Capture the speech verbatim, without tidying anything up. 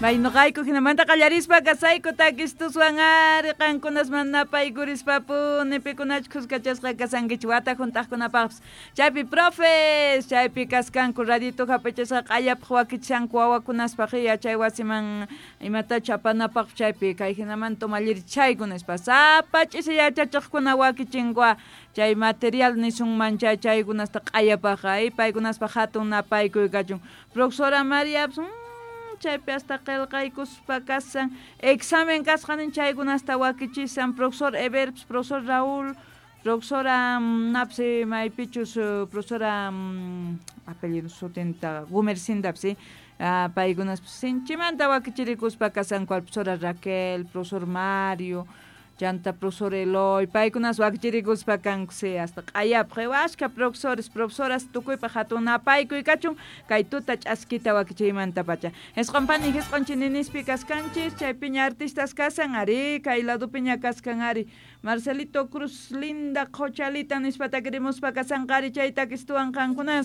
May noqayku hinamanta qallarispa kasayku takistuswan ari qankunasman napaykurispa-puni pikunachu khuskachasqa kasankichik wata hunt'aqkunapaqpis chaypi profes chaypi kaskanku radito hap'ichasqa q'ayapaq wakichishanku wawakunaspaq yachay wasiman imatachu apanapaq chaypi kay hinamanta umallirichayku nispa sapa ch'isi yachachiqkuna wakichinkua chay material nisunman chay chaykunasta q'ayapaq ay paykunaspaq hatun napaykuy kachun profesora María chaypi hasta qillqaykuspa kasan examen kasqanin chaykunasta wakichisan profesor Everps profesor Raúl profesora napsi maypichus profesora apellido sutinta Gumercindapsi paykunas sinchimanta wakichirikuspa kasanku profesora Raquel profesor Mario chanta profesor Eloy paykunas wakichirikuspa kanku si hasta q'ayapaq ashka profesores profesoras tukuypaq hatun napaykuy kachun kay tuta ch'askita wakichiymantapacha isqun pani isqun chininispi kaskanchis chaypiña artistas kasan ari kay ladopiña kaskan ari Marcelito Cruz linda qhochalita nispa takirimuspa kasanqari chay takistuwan qankunas.